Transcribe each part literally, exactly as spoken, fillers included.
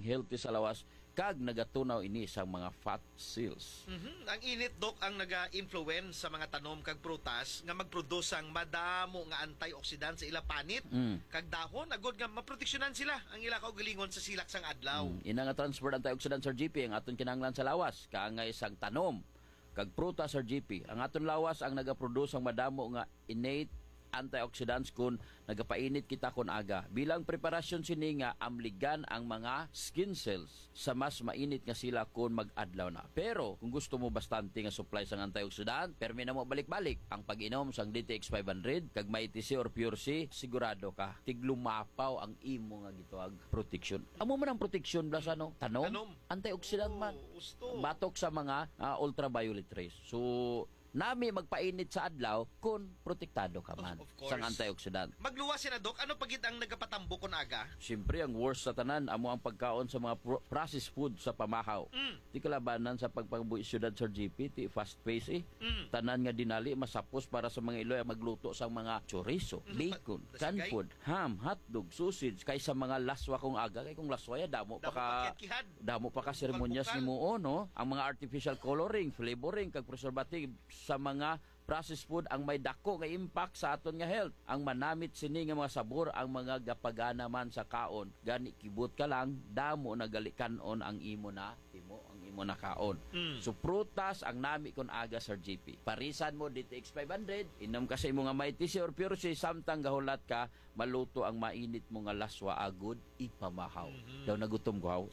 healthy sa lawas, kag nagatunaw ini sa mga fat cells. Mhm. Ang init, Doc, ang naga-influence sa mga tanom kag prutas nga magproduce sang madamo nga antioxidant sa ila panit Mm. kag dahon, agod nga maproteksyonan sila ang ila kaugalingon sa silak sang adlaw. Mm. Ina nga transferred antioxidant, Sir G P, ang aton kinahanglan sa lawas, kaangay sang tanom kag prutas, Sir G P. Ang aton lawas ang nagaproduce sang madamo nga innate antioxidants kon nagapainit kita kon aga. Bilang preparasyon sini nga amligan ang mga skin cells sa mas mainit nga sila kon mag-adlaw na. Pero kung gusto mo bastante nga supply sang antioxidant, permi na mo balik-balik ang pag-inom sang D T X five hundred kag Mighty C or Pure C, sigurado ka tiglumapaw ang imo nga gitawag protection. Amo man ang protection, bala sa, no, tanom. Tanom. Antioxidant man. Oo, gusto. Batok sa mga, ah, ultraviolet rays. So, nami magpainit sa adlaw kung protektado ka man Of, of course. sang antioxidant. Magluwas sila, Doc. Ano pa gid ang nagapatambok kon aga? Siyempre, ang worst sa tanan amo ang pagkaon sa mga pro-, processed food sa pamahaw. Mm. Ti kalabanan sa pagpangbuhi siyudad, Sir G P, ti fast pace, eh. Mm. Tanan nga dinali masapos para sa mga iloy ang magluto sang mga chorizo, Mm, bacon, pa-, canned pasigay. food, ham, hotdog, sausage, kaysa mga laswa kung aga. Kay kung laswa ya, damo pa Damo ka, pa kiyat-kihad. damo pa ka seremonyas Bukal-bukal. ni muo, no? Ang mga artificial coloring, flavoring, kag preservative sa mga processed food ang may dako nga impact sa aton nga health. Ang manamit sini nga mga sabor ang mga gapagana man sa kaon. Gani, kibot ka lang, damo na gali kan-on ang imo na himo, ang imo na kaon. Mm. So, prutas ang nami kon aga, Sir G P. Parisan mo D T X five hundred, inom ka sa imo nga Mighty C or Pure C, samtang gahulat ka, maluto ang mainit mo nga laswa agod ipamahaw. Mhm. Daw nagutom ko, haw.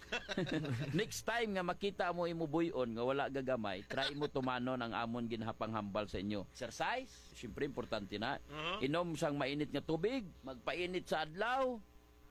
Next time nga makita mo imo buy-on nga wala gagamay, try mo tumanon ang amon ginhapanghambal sa inyo. Exercise, siyempre importante na. Mhm. Inom sang mainit nga tubig, magpainit sa adlaw,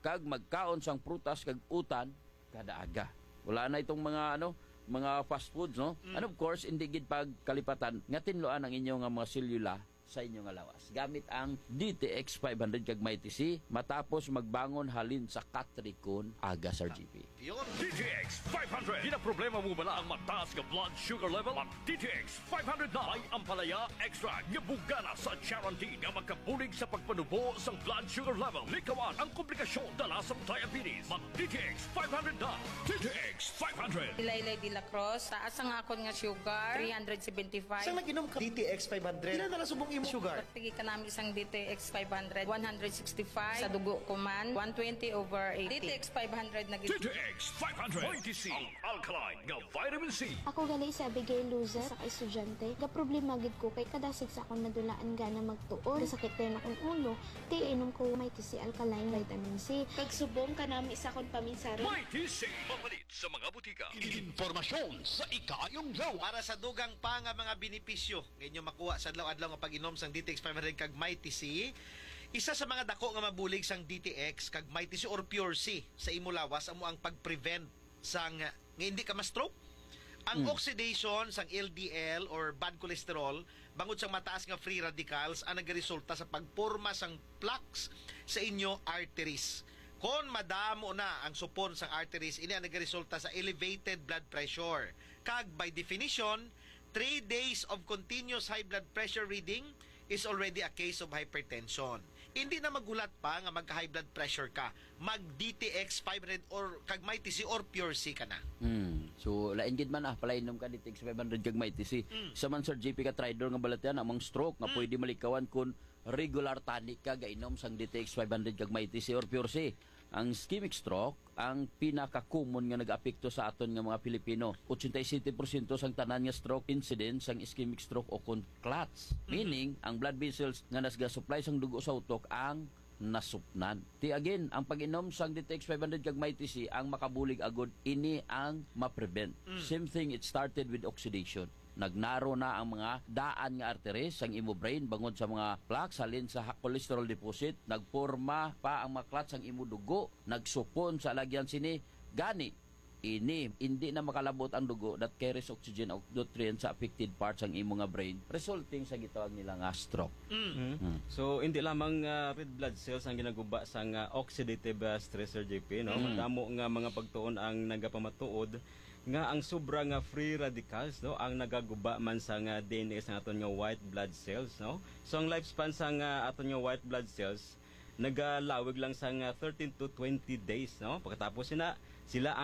kag magkaon sang prutas kag utan kada aga. Wala na itong mga, ano, mga fast foods, no? Mm. And of course, hindi gid pagkalipatan nga tinluan ang inyo nga mga selula sa inyo nga lawas gamit ang D T X five hundred kag Mighty C matapos magbangon halin sa katrikon aga, Sir G P. Yun. D T X five hundred. Ginaproblema mo bala ang mataas nga blood sugar level? Mag D T X five hundred na. May ampalaya extract nga bugana sa Charantin nga makabulig sa pagpanubo sang blood sugar level. Likawan ang komplikasyon dala sang diabetes. Mag D T X five hundred na. D T X five hundred. Ilaylay de la Cruz, taas ang akon nga sugar, three hundred seventy-five. Sang nag-inom ka D T X five hundred, pila na lang subong imo sugar? Pagtigi ka nami sang D T X five hundred, one hundred sixty-five. Sa dugo ko man, one twenty over eighty. D T X five hundred na gid. D T X five hundred. Mighty C, ang alkaline nga vitamin C. Ako gali si Abigail Luzet, sa ka-estudyante. Gaproblema gid ko kay kada sigs akon nadulaan gana magtuon. Gasakit dayon akong ulo. Ti inom ko Mighty C alkaline vitamin C. Kag subong kanami sa akon paminsari. Mighty C. Mapalit sa mga butika. Impormasyon sa ikaayong lawas. Para sa dugang pa nga mga benepisyo nga inyo makuha sa adlaw-adlaw nga pag-inom sang D T X five hundred kag Mighty C, isa sa mga dako nga mabulig sang D T X kag Mighty C or Pure C sa imo lawas amo ang pag-prevent sang nga hindi ka ma-stroke. Ang Mm. oxidation sang L D L or bad cholesterol bangod sang mataas nga free radicals ang nagaresulta sa pagporma sang plaques sa inyo arteries. Kon madamo na ang supon sang arteries, ini ang nagaresulta sa elevated blood pressure. Kag by definition, three days of continuous high blood pressure reading is already a case of hypertension. Hindi na maghulat pa nga magka-high blood pressure ka, mag D T X five hundred or kag Mighty C or Pure C ka na. Hmm. So, lain gid man, ah, palainom ka D T X five hundred kag Mighty C. Mm. Sa man, Sir G P, ka tridor nga balatian, among stroke nga Mm. pwede malikawan kun regular tani ka gainom sang D T X five hundred kag Mighty C or Pure C. Ang ischemic stroke, ang pinaka-common nga nag-apekto sa aton nga mga Pilipino. Ochenta y siete porsyento sang tanan nga stroke incidence sang ischemic stroke o kon clots. Mhm. Meaning, ang blood vessels nga nasga-supply sang dugo sa utok ang nasupnan. Ti again, ang pag-inom sang D T X five hundred kag Mighty C ang makabulig agod ini ang ma-prevent. Mm. Same thing, it started with oxidation. Nagnaro na ang mga daan nga arteries sang imo brain bangod sa mga plaques halin sa ha-, cholesterol deposit. Nagporma pa ang mga clots sang imo dugo. Nagsupon sa alagyan sini. Gani, ini, hindi na makalabot ang dugo that carries oxygen o nutrients sa affected parts sang imo nga brain, resulting sa gitawag nila nga stroke. Mm. Mm. Mm. So, hindi lamang, ah, red blood cells ang ginaguba sang, ah, oxidative, ah, stress, Sir J P, no? Mm. Madamo nga mga pagtuon ang nagapamatuod nga ang sobra nga free radicals, no, ang nagaguba man sang, ah, D N A sang aton nga white blood cells, no? So, ang lifespan sang, ah, aton nga white blood cells nagalawig lang sang, ah, thirteen to twenty days, no? Pagkatapos sina, sila ang